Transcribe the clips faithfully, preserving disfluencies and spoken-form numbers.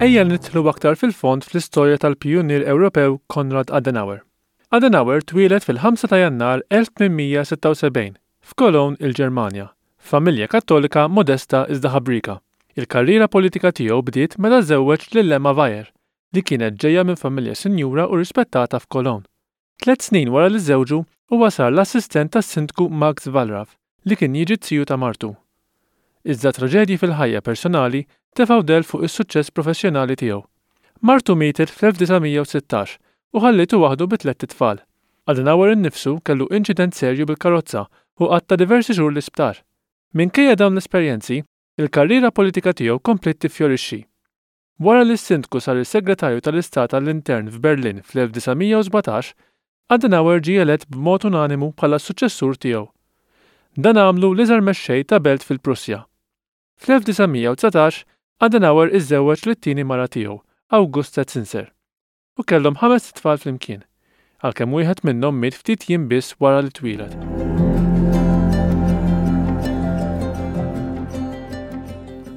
Ejja nidħlu aktar fil-fond fl-istorja tal-pijunier Ewropew Konrad Adenauer. Adenauer twieled fil-ħamsa ta' Jannar elf tmien mija sitta u sebgħin f'Cologne, il-Ġermanja, familja Kattolika modesta iżda ħabrika. Il-karriera politika tiegħu bdiet meta żewweġ lil Emma Weyer, li kienet ġejja minn familja sinjura u rispettata f'Cologne. Tliet snin wara li żewġu, huwa sar l-assistent tas-sindku Max Wallraff, li kien jiġi z-ziju ta' martu. Iżda traġedji fil-ħajja personali tefgħu del fuq is-suċċess professjonali tiegħu. Martu mietet fl-elf disa' mija u sittax u ħallitu waħdu bi tlett itfal. Adenauer innifsu kellu inċident serju bil-karozza u qatta' diversi xhur l-isptar. Minkejja dawn l-esperjenzi, il-karriera politika tiegħu kompliet tiffjorixxi. Wara li s-sindku sar is-segretarju tal-Istat għall-Intern f'Berlin fl-elf disa' mija u sbatax, Adenauer ġie elett b'mod unanimu bħala s-suċċessur tiegħu. Dan għamlu l-iżgħar mexxej ta' belt fil-Prussja. Fl-elf disa' mija u dsatax, Adenauer iżżewweġ lit-tieni mara tiegħu, Augusta Zinser, u kellhom ħames itfal flimkien, għalkemm wieħed minnhom miet ftit jiem biss wara li twieled.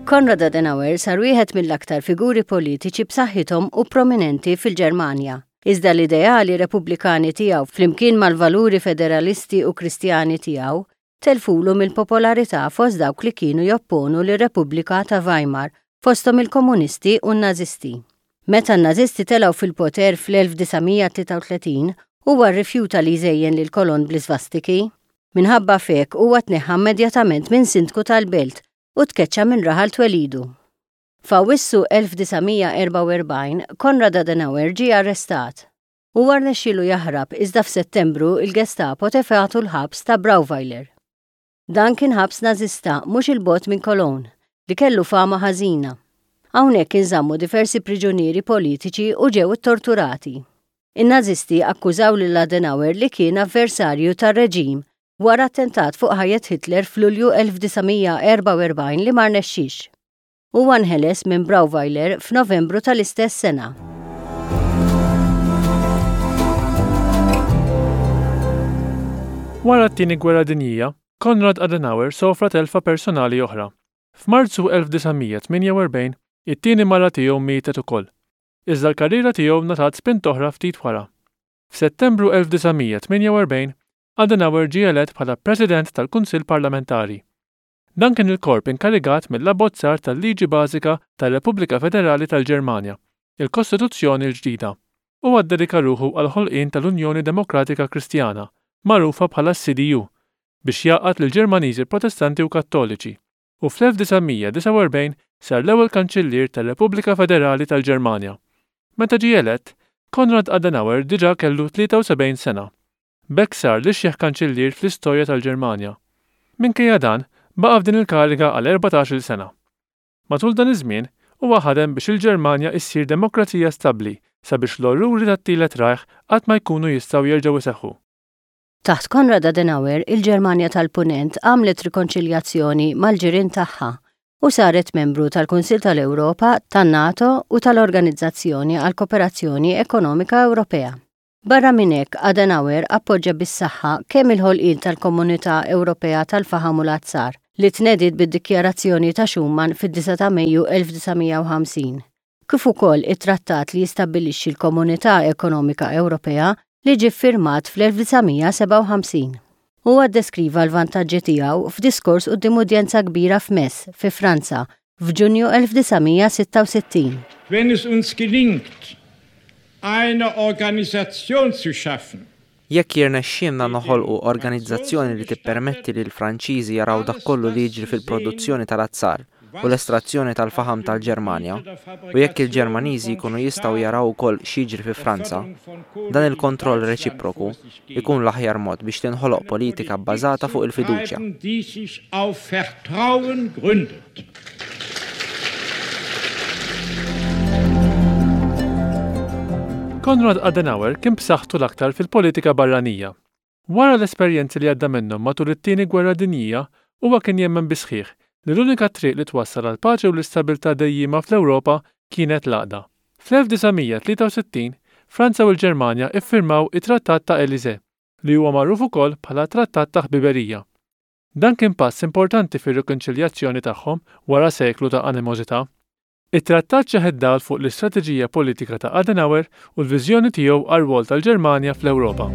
Konrad Adenauer sar wieħed mill-aktar figuri politiċi b'saħħithom u prominenti fil-Ġermanja. Iżda l-ideali repubblikani tiegħu flimkien mal-valuri federalisti u kristjani tiegħu telfulu mill-popolarità fost dawk li kienu jopponu lir-Repubblika ta' Weimar, fosthom il-komunisti u n-nazisti. Meta n-nazisti telgħu fil-poter fl-elf disa' mija tlieta u tletin, huwa rrifjuta li jżejjen lil Cologne bl-isvastiki. Minħabba f'hekk huwa tneħħa immedjatament minn sindku tal-belt u tkeċċa minn raħal twelidu. F'Awwissu elf disa' mija erbgħa u erbgħin, Konrad Adenauer ġie arrestat. Huwa rnexxielu jaħrab, iżda f'Settembru il-Gestapo tefgħatu l-ħabs ta' Brauweiler. Dan kien ħabs nażista mhux il-bogħod minn Cologne li kellu fama ħażina. Hawnhekk inżammu diversi priġunieri politiċi u ġew torturati. In-nazisti akkużaw lil Adenauer li kien avversarju tar-reġim wara attentat fuq ħajjet Hitler f'Lulju elf disa' mija erbgħa u erbgħin li ma rnexxix. Huwa nħeles minn Brauweiler f'Novembru tal-istess sena. Wara t-Tieni Gwerra Dinjija, Konrad Adenauer sofra telfa personali oħra. F'Marzu elf disa' mija tmienja u erbgħin, it-tieni mara tiegħu mietet ukoll. Iżda l-karriera tiegħu ngħatat spint oħra ftit wara. F'Settembru elf disa' mija tmienja u erbgħin, Adenauer ġie elett bħala President tal-Kunsill Parlamentari. Dan kien il-korp inkarigat mill-abbozzar tal-Liġi Bażika tar-Repubblika Federali tal-Ġermanja, il-Kostituzzjoni l-ġdida. Huwa ddedika ruħu għall-ħolqien tal-Unjoni Demokratika Kristjana, magħrufa bħala C D U, biex jgħaqqad lill-Ġermaniżi Protestanti u Kattoliċi, u fl-elf disa' mija disgħa u erbgħin sar l-ewwel Kanċillier tar-Repubblika Federali tal-Ġermanja. Meta ġie elett, Konrad Adenauer diġà kellu tlieta u sebgħin sena. B'hekk sar l-ixjeħ kanċillier fl-istorja tal-Ġermanja. Minkejja dan, baqa' f'din il-kariga għal erbatax-il sena. Matul dan iż-żmien, huwa ħadem biex il-Ġermanja issir demokrazija stabbli sabiex l-orruri tat-Tielet Reich qatt ma jkunu jistgħu jerġgħu iseħħu. Taħt Konrad Adenauer, il-Ġermanja tal-Punent għamlet rikonċiljazzjoni mal-ġirien tagħha u saret membru tal-Kunsil tal-Ewropa, tan-NATO u tal-Organizzazzjoni għal Kooperazzjoni Ekonomika Ewropea. Barra minn hekk, Adenauer appoġġa bis-saħħa kemm il-ħolqien tal-Komunità Ewropea tal-Faħam u l-Azzar li tnediet bid-Dikjarazzjoni ta' Schuman fid-disgħa ta' Mejju elf disa' mija u ħamsin, kif ukoll it-trattat li jistabbilixxi l-Komunità Ekonomika Ewropea li ġie ffirmat fl-elf disa' mija sebgħa u ħamsin. Huwa ddeskriva l-vantaġġi tiegħu f'diskors quddiem udjenza kbira f'Metz, fi Franza, f'Ġunju elf disa' mija sitta u sittin. Wenn es uns gelingt, eine Organisation zu schaffen, Jekk jirnexxielna noħolqu organizzazzjoni li tippermetti li l-Franċiżi jaraw dak kollu li jiġri fil-produzzjoni tal-azzar u l-estrazzjoni tal-faħam tal-Ġermanja, u jekk il-Ġermaniżi jkunu jistgħu jaraw ukoll x'jiġri fi Franza, dan il-kontroll reċiproku jkun l-aħjar mod biex tinħoloq politika bbażata fuq il-fiduċja. Die sich auf Vertrauen gründet. Konrad Adenauer kien b'saħħtu l-aktar fil-politika barranija. Wara l-esperjenzi li għadda minnhom matul it-Tieni Gwerra Dinjija, huwa kien jemmen bisħiħ li l-unika triq li twassal għal paċi u l-istabilità dejjima fl-Ewropa kienet l-għaqda. Fl-elf disa' mija tlieta u sittin, Franza u l-Ġermanja iffirmaw it-Trattat ta' Elysee, li huwa magħruf ukoll bħala Trattat ta' Ħbiberija. Dan kien pass importanti fir-rikonċiljazzjoni tagħhom wara seklu ta' animożità. It-trattat xeħet dawl fuq l-istrateġija politika ta' Adenauer u l-viżjoni tiegħu għar-rwol tal-Ġermanja fl-Ewropa.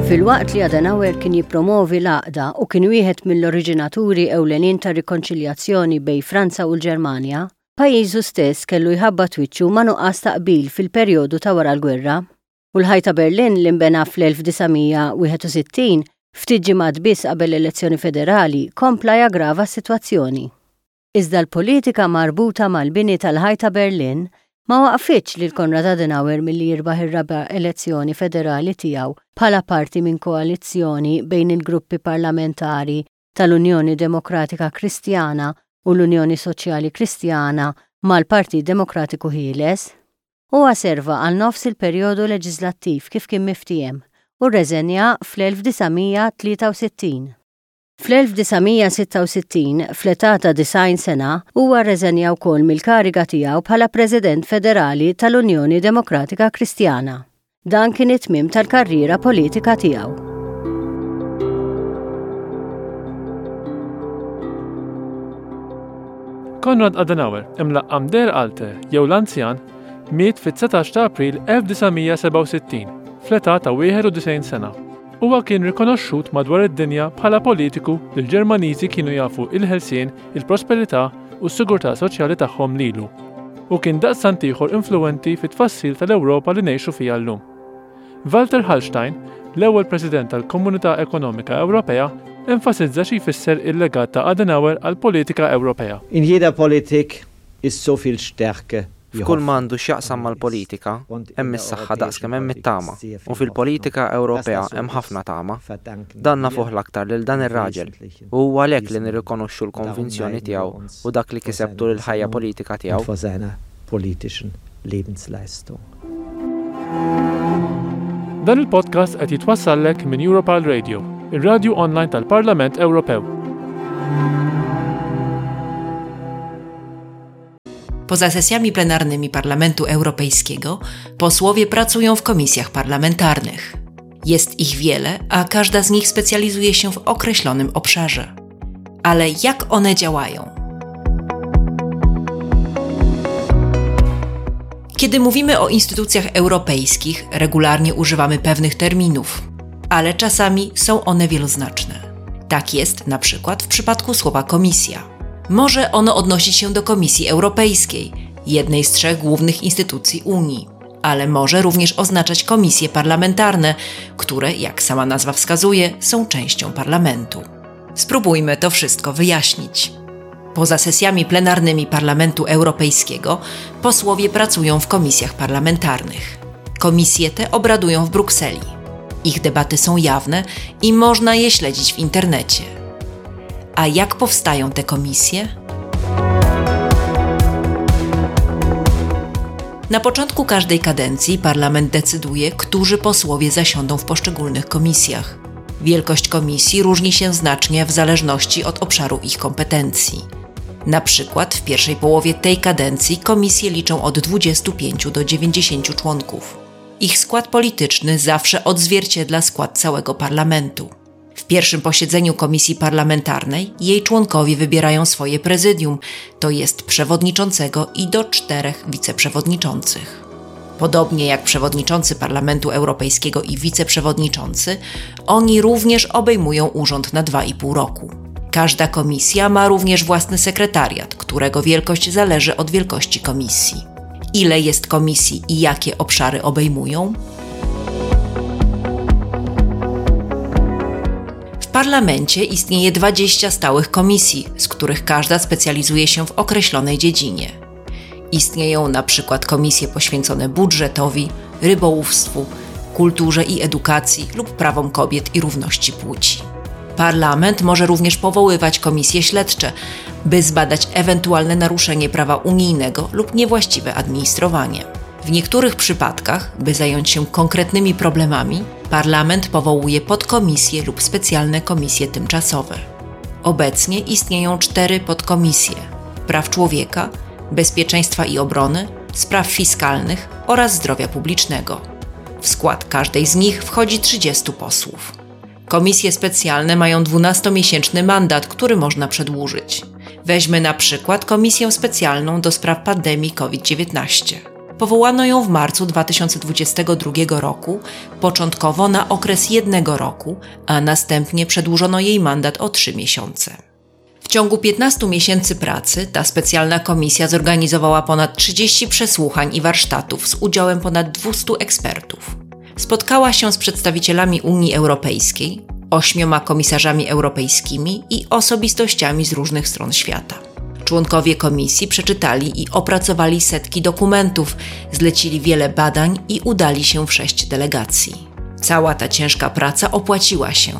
Filwaqt li Adenauer kien jippromovi l-għaqda u kien wieħed mill-oriġinaturi ewlenin tar-rikonċiljazzjoni bejn Franza u l-Ġermanja, pajjiżu stess kellu jħabbat wiċċu ma' nuqqas ta' qbil fil-perjodu ta' wara l-gwerra. U l-ħajt ta' Berlin li nbena fl-elf disa' mija wieħed u sittin ftit ġimgħat biss qabel l-elezzjoni federali kompla jaggrava s-sitwazzjoni. Iżda l-politika marbuta mal-bini tal-ħajt ta' Berlin ma waqfitx lil Konrad Adenauer milli jirbaħ ir-raba' elezzjoni federali tiegħu bħala parti minn koalizzjoni bejn il-gruppi parlamentari tal-Unjoni Demokratika Kristjana u l-Unjoni Soċjali Kristjana mal-Partit Demokratiku Ħieles. Huwa serva għal nofs il-perjodu leġislattiv kif kien miftiehem u rreżenja fl-elf disa' mija tlieta u sittin. Fl-elf disa' mija sitta u sittin, fl-età ta' disgħin sena, huwa rreżenja wkoll mill-kariga tiegħu bħala President Federali tal-Unjoni Demokratika Kristjana. Dan kien it-tmiem tal-karriera politika tiegħu. Konrad Adenauer, imlaqqam Der Alte jew l-Anzjan, miet fit-dsatax ta' April elf disa' mija sebgħa u sittin, fl-età ta' wieħed u disgħin sena. Huwa kien rikonoxxut madwar id-dinja bħala politiku li l-Ġermaniżi kienu jafu il-ħelsien, il-prosperità u s-sigurtà soċjali tagħhom lilu, u kien daqstant ieħor influwenti fit-tfassil tal-Ewropa li ngħixu fiha llum. Walter Hallstein, l-ewwel President tal-Komunità Ekonomika Ewropea, enfasizza xi jfisser il-legat ta' Adenauer għall-politika Ewropea. In jeder Politik ist so viel Stärke. F'kull ma għandu x'jaqsam mal-politika, hemm is-saħħa daqskemm hemm it-tama, u fil-politika Ewropea hemm ħafna tama. Dan nafuh l-aktar lil dan ir-raġel, u huwa għalhekk li nirrikonoxxu l-konvinzjoni tiegħu u dak li kiseb tul il-ħajja politika tiegħu. Vor seiner politischen Lebensleistung. Dan il-podcast qed jitwassallek minn Europarl Radio, ir-radju online tal-Parlament Ewropew. Poza sesjami plenarnymi Parlamentu Europejskiego posłowie pracują w komisjach parlamentarnych. Jest ich wiele, a każda z nich specjalizuje się w określonym obszarze. Ale jak one działają? Kiedy mówimy o instytucjach europejskich, regularnie używamy pewnych terminów, ale czasami są one wieloznaczne. Tak jest na przykład w przypadku słowa komisja. Może ono odnosić się do Komisji Europejskiej, jednej z trzech głównych instytucji Unii, ale może również oznaczać komisje parlamentarne, które, jak sama nazwa wskazuje, są częścią parlamentu. Spróbujmy to wszystko wyjaśnić. Poza sesjami plenarnymi Parlamentu Europejskiego posłowie pracują w komisjach parlamentarnych. Komisje te obradują w Brukseli. Ich debaty są jawne i można je śledzić w internecie. A jak powstają te komisje? Na początku każdej kadencji parlament decyduje, którzy posłowie zasiądą w poszczególnych komisjach. Wielkość komisji różni się znacznie w zależności od obszaru ich kompetencji. Na przykład w pierwszej połowie tej kadencji komisje liczą od dwudziestu pięciu do dziewięćdziesięciu członków. Ich skład polityczny zawsze odzwierciedla skład całego parlamentu. W pierwszym posiedzeniu komisji parlamentarnej jej członkowie wybierają swoje prezydium, to jest przewodniczącego i do czterech wiceprzewodniczących. Podobnie jak przewodniczący Parlamentu Europejskiego i wiceprzewodniczący, oni również obejmują urząd na dwa i pół roku. Każda komisja ma również własny sekretariat, którego wielkość zależy od wielkości komisji. Ile jest komisji i jakie obszary obejmują? W parlamencie istnieje dwadzieścia stałych komisji, z których każda specjalizuje się w określonej dziedzinie. Istnieją na przykład komisje poświęcone budżetowi, rybołówstwu, kulturze i edukacji lub prawom kobiet i równości płci. Parlament może również powoływać komisje śledcze, by zbadać ewentualne naruszenie prawa unijnego lub niewłaściwe administrowanie. W niektórych przypadkach, by zająć się konkretnymi problemami, parlament powołuje podkomisje lub specjalne komisje tymczasowe. Obecnie istnieją cztery podkomisje: praw człowieka, bezpieczeństwa i obrony, spraw fiskalnych oraz zdrowia publicznego. W skład każdej z nich wchodzi trzydziestu posłów. Komisje specjalne mają dwunastomiesięczny mandat, który można przedłużyć. Weźmy na przykład Komisję Specjalną do spraw pandemii COVID dziewiętnaście. Powołano ją w marcu dwa tysiące dwudziestego drugiego roku, początkowo na okres jednego roku, a następnie przedłużono jej mandat o trzy miesiące. W ciągu piętnastu miesięcy pracy ta specjalna komisja zorganizowała ponad trzydzieści przesłuchań i warsztatów z udziałem ponad dwustu ekspertów. Spotkała się z przedstawicielami Unii Europejskiej, ośmioma komisarzami europejskimi i osobistościami z różnych stron świata. Członkowie komisji przeczytali i opracowali setki dokumentów, zlecili wiele badań i udali się w sześć delegacji. Cała ta ciężka praca opłaciła się.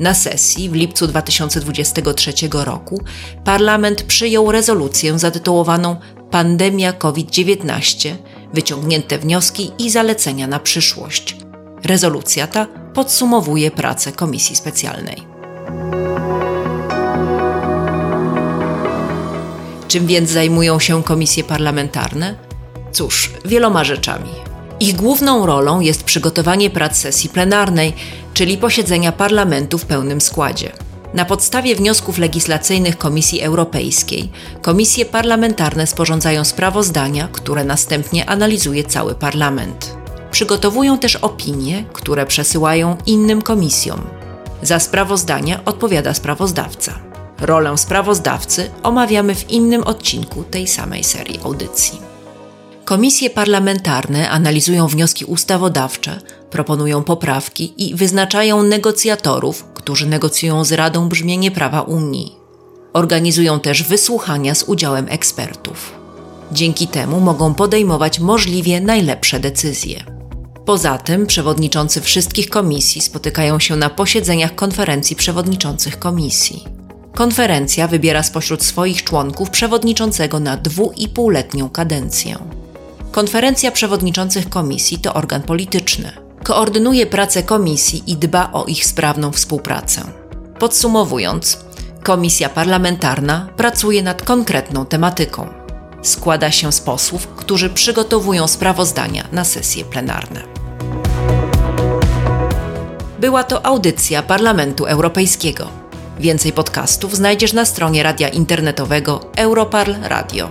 Na sesji w lipcu dwa tysiące dwudziestego trzeciego roku parlament przyjął rezolucję zatytułowaną Pandemia COVID dziewiętnaście – wyciągnięte wnioski i zalecenia na przyszłość. Rezolucja ta podsumowuje pracę Komisji Specjalnej. Czym więc zajmują się komisje parlamentarne? Cóż, wieloma rzeczami. Ich główną rolą jest przygotowanie prac sesji plenarnej, czyli posiedzenia parlamentu w pełnym składzie. Na podstawie wniosków legislacyjnych Komisji Europejskiej komisje parlamentarne sporządzają sprawozdania, które następnie analizuje cały parlament. Przygotowują też opinie, które przesyłają innym komisjom. Za sprawozdania odpowiada sprawozdawca. Rolę sprawozdawcy omawiamy w innym odcinku tej samej serii audycji. Komisje parlamentarne analizują wnioski ustawodawcze, proponują poprawki i wyznaczają negocjatorów, którzy negocjują z Radą brzmienie prawa Unii. Organizują też wysłuchania z udziałem ekspertów. Dzięki temu mogą podejmować możliwie najlepsze decyzje. Poza tym przewodniczący wszystkich komisji spotykają się na posiedzeniach konferencji przewodniczących komisji. Konferencja wybiera spośród swoich członków przewodniczącego na dwuipółletnią kadencję. Konferencja przewodniczących komisji to organ polityczny. Koordynuje pracę komisji i dba o ich sprawną współpracę. Podsumowując, komisja parlamentarna pracuje nad konkretną tematyką. Składa się z posłów, którzy przygotowują sprawozdania na sesje plenarne. Była to audycja Parlamentu Europejskiego. Więcej podcastów znajdziesz na stronie radia internetowego Europarl Radio.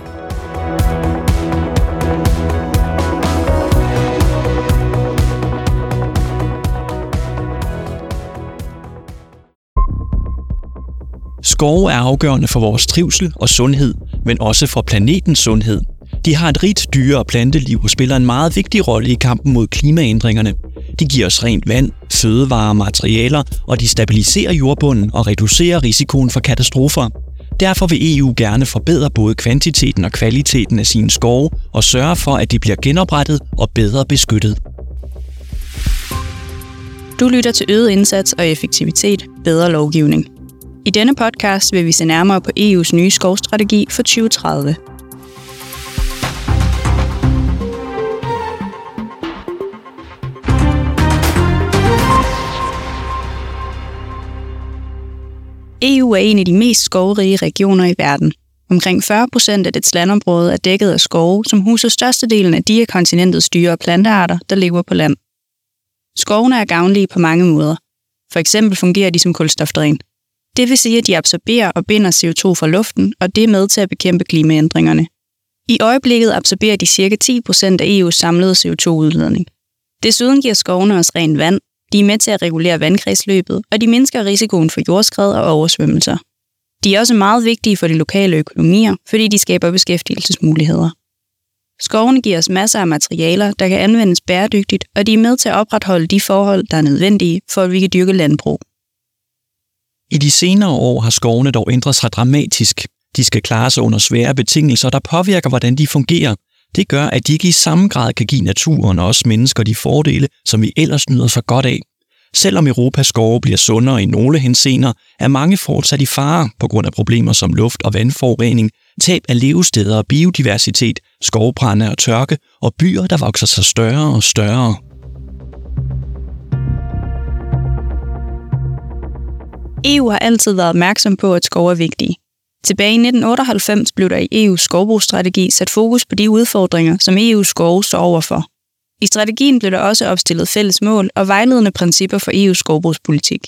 Skove er afgørende for vores trivsel og sundhed, men også for planetens sundhed. De har et rigt dyre- og planteliv og spiller en meget vigtig rolle i kampen mod klimaændringerne. De giver os rent vand, fødevarer og materialer, og de stabiliserer jordbunden og reducerer risikoen for katastrofer. Derfor vil E U gerne forbedre både kvantiteten og kvaliteten af sine skove og sørge for, at de bliver genoprettet og bedre beskyttet. Du lytter til øget indsats og effektivitet, bedre lovgivning. I denne podcast vil vi se nærmere på E U's nye skovstrategi for tyve tredive. E U er en af de mest skovrige regioner i verden. Omkring fyrre procent af dets landområde er dækket af skove, som huser størstedelen af de af kontinentets dyre- og plantearter, der lever på land. Skovene er gavnlige på mange måder. For eksempel fungerer de som kulstofdræn. Det vil sige, at de absorberer og binder C O to fra luften, og det er med til at bekæmpe klimaændringerne. I øjeblikket absorberer de cirka ti procent af E U's samlede C O to-udledning. Desuden giver skovene os rent vand, de er med til at regulere vandkredsløbet, og de mindsker risikoen for jordskred og oversvømmelser. De er også meget vigtige for de lokale økonomier, fordi de skaber beskæftigelsesmuligheder. Skovene giver os masser af materialer, der kan anvendes bæredygtigt, og de er med til at opretholde de forhold, der er nødvendige, for at vi kan dyrke landbrug. I de senere år har skovene dog ændret sig dramatisk. De skal klare sig under svære betingelser, der påvirker, hvordan de fungerer. Det gør, at de ikke i samme grad kan give naturen og os mennesker de fordele, som vi ellers nyder så godt af. Selvom Europas skove bliver sundere i nogle henseender, er mange fortsat i fare på grund af problemer som luft- og vandforurening, tab af levesteder og biodiversitet, skovbrande og tørke og byer, der vokser sig større og større. E U har altid været opmærksom på, at skove er vigtige. Tilbage i nitten otteoghalvfems blev der i E U's skovbrugsstrategi sat fokus på de udfordringer, som E U's skove står overfor. I strategien blev der også opstillet fælles mål og vejledende principper for E U's skovbrugspolitik.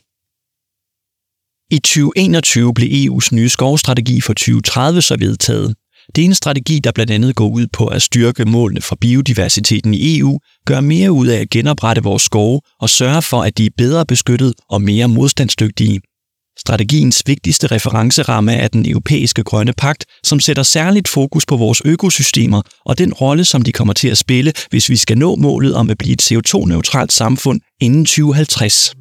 I tyve enogtyve blev E U's nye skovstrategi for tyve tredive så vedtaget. Det er en strategi, der blandt andet går ud på at styrke målene for biodiversiteten i E U, gøre mere ud af at genoprette vores skove og sørge for, at de er bedre beskyttet og mere modstandsdygtige. Strategiens vigtigste referenceramme er den europæiske grønne pagt, som sætter særligt fokus på vores økosystemer og den rolle, som de kommer til at spille, hvis vi skal nå målet om at blive et C O to-neutralt samfund inden tyve halvtreds.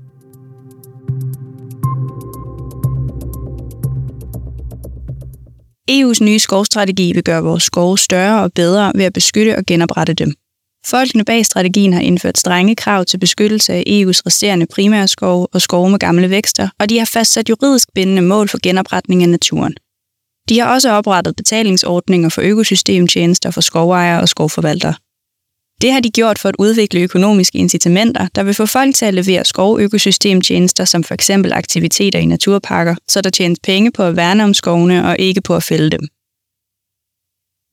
E U's nye skovstrategi vil gøre vores skove større og bedre ved at beskytte og genoprette dem. Folkene bag strategien har indført strenge krav til beskyttelse af E U's resterende primære skove og skove med gamle vækster, og de har fastsat juridisk bindende mål for genopretning af naturen. De har også oprettet betalingsordninger for økosystemtjenester for skovejere og skovforvaltere. Det har de gjort for at udvikle økonomiske incitamenter, der vil få folk til at levere skovøkosystemtjenester som for eksempel aktiviteter i naturparker, så der tjenes penge på at værne om skovene og ikke på at fælde dem.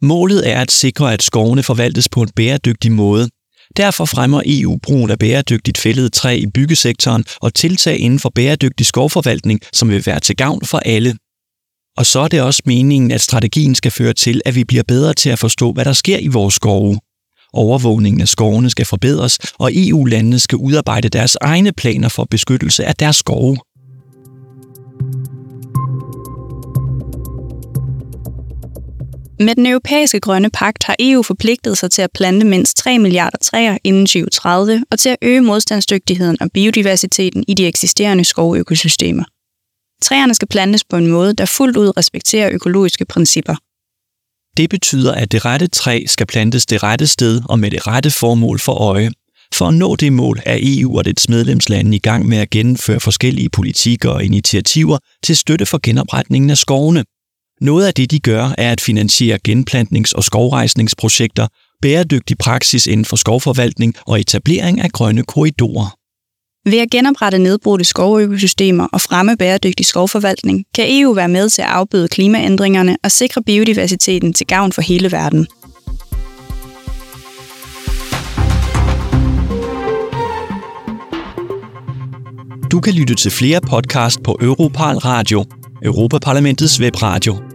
Målet er at sikre, at skovene forvaltes på en bæredygtig måde. Derfor fremmer E U brugen af bæredygtigt fældet træ i byggesektoren og tiltag inden for bæredygtig skovforvaltning, som vil være til gavn for alle. Og så er det også meningen, at strategien skal føre til, at vi bliver bedre til at forstå, hvad der sker i vores skove. Overvågningen af skovene skal forbedres, og E U-landene skal udarbejde deres egne planer for beskyttelse af deres skove. Med den europæiske grønne pagt har E U forpligtet sig til at plante mindst tre milliarder træer inden tyve tredive og til at øge modstandsdygtigheden og biodiversiteten i de eksisterende skovøkosystemer. Træerne skal plantes på en måde, der fuldt ud respekterer økologiske principper. Det betyder, at det rette træ skal plantes det rette sted og med det rette formål for øje. For at nå det mål er E U og dets medlemslande i gang med at gennemføre forskellige politikker og initiativer til støtte for genopretningen af skovene. Noget af det, de gør, er at finansiere genplantnings- og skovrejsningsprojekter, bæredygtig praksis inden for skovforvaltning og etablering af grønne korridorer. Ved at genoprette nedbrudte skovøkosystemer og fremme bæredygtig skovforvaltning, kan E U være med til at afbøde klimaændringerne og sikre biodiversiteten til gavn for hele verden. Du kan lytte til flere podcast på Europarl Radio, Europaparlamentets webradio.